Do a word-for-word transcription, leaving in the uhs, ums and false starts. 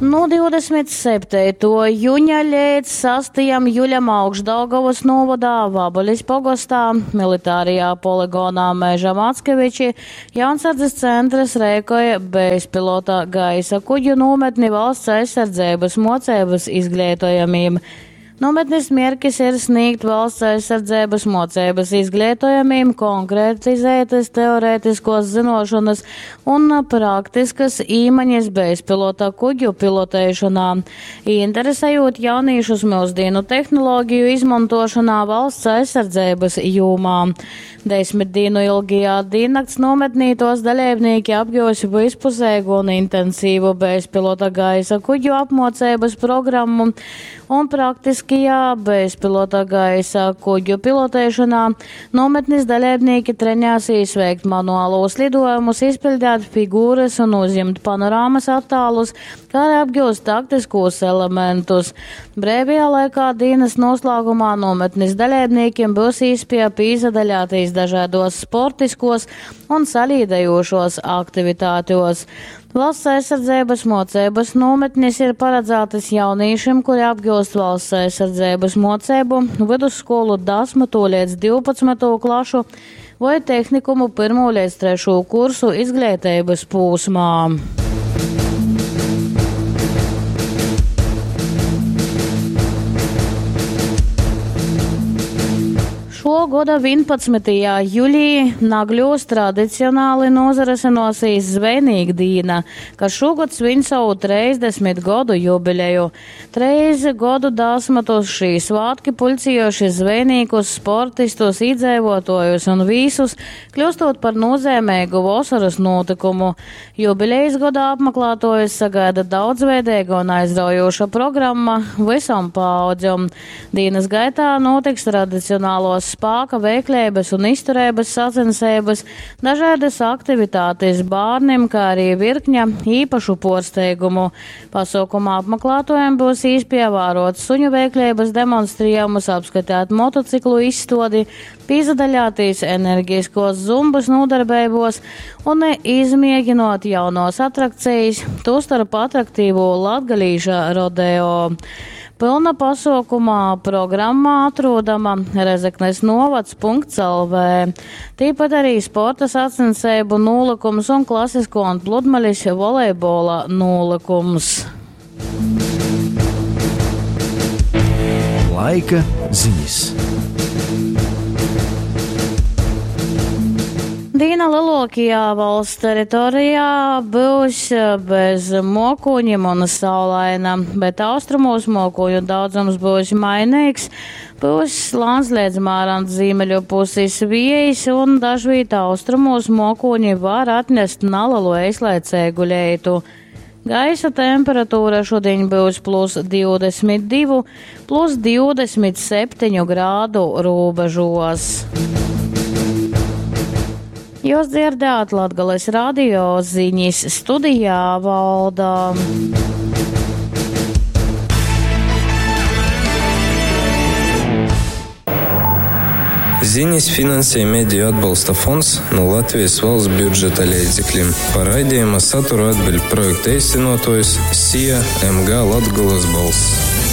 Nu divdesmit septeituo juņa līdz sastajam juļam Augšdaugavas novadā Vabalis pogostā, militārajā poligonā Meža Mackeviči, Jaunsardzes centrs reikoja bezpilota gaisa kuģu nometni valsts aizsardzības mocības izglītojamiem. Nometnes mērķis ir sniegt valsts aizsardzības mocības izglītojamiem konkretizētas teorētiskos zinošanas un praktiskas īmaņas bezpilota kuģu pilotēšanā, interesējot jauniešus mūsdienu tehnoloģiju izmantošanā valsts aizsardzības jomā. Desmit dienu ilgajā diennakts nometnī tos dalībnieki apgūs vispusēgu un intensīvu bezpilota gaisa kuģu apmocības programmu un praktiskajā bezpilota gaisa kuģu pilotēšanā nometnes dalībnieki trenēsies veikt manuālos lidojumus, izpildīt figūras un uzņemt panorāmas attēlus, kā arī apgūst taktiskos elementus. Brīvajā laikā dienas noslēgumā nometnes dalībniekiem būs iespēja pīzadaļāties dažādos sportiskos un salīdējošos aktivitātos. Valsts aizsardzības mocības nometnes ir paredzētas jauniešiem, kuri apgūst valsts aizsardzības mocību vidusskolu desmito līdz divpadsmito klašu vai tehnikumu pirmo līdz trešo kursu izglītības posmā. Šo gada vienpadsmitajā jūlijā Nagļos tradicionāli nozaresenosīs Zvejnīgdīna, kas šogad svin savu trīsdesmit gadu jubileju. Treis godu desmitus šī svētki pulcējuši zvejniekus, sportistus, iedzīvotājus un visus, kļūstot par nozīmīgu vasaras notikumu. Jubilejas godā apmeklētājus sagaida daudzveidīga un aizraujoša programma visam paaudzēm. Dienas gaitā notiks tradicionālos spāka veiklības un izturības sacensības, dažādas aktivitātes bērniem, kā arī virkņa īpašu porsteigumu. Pasaukumā apmeklētājiem būs iespēja vērot suņu veiklības demonstrējumus, apskatīt motociklu izstodi, pīzadaļāties energiskos zumbas nodarbībos un izmēģinot jaunos atrakcijas, tostarp atraktīvo latgalīša rodeo. Pilna pasaukumā programmā atrodama Rezeknes novads punkts L V. Tīpat arī sporta sacensību nolikums un klasisko un pludmales volejbola nolikums. Laika ziņas. Dīna lielākajā valsts teritorijā būs bez mokoņiem un saulaina, bet austrumos mokoņu daudzums būs mainīgs. Būs lāns līdz mērens ziemeļu puses vējs un dažviet austrumos mokoņi var atnest nelielu eislaicīgu leitu. Gaisa temperatūra šodien būs plus divdesmit divu, plus divdesmit septiņu grādu robežos. Jūs dzirdējāt Latgales radio ziņas studijā Valda. Ziņas finansē Mediju atbalsta fonds no Latvijas valsts budžeta līdzekļiem. Par raidījuma saturu atbild projekta īstenotājs S I A M G Latgulas balss.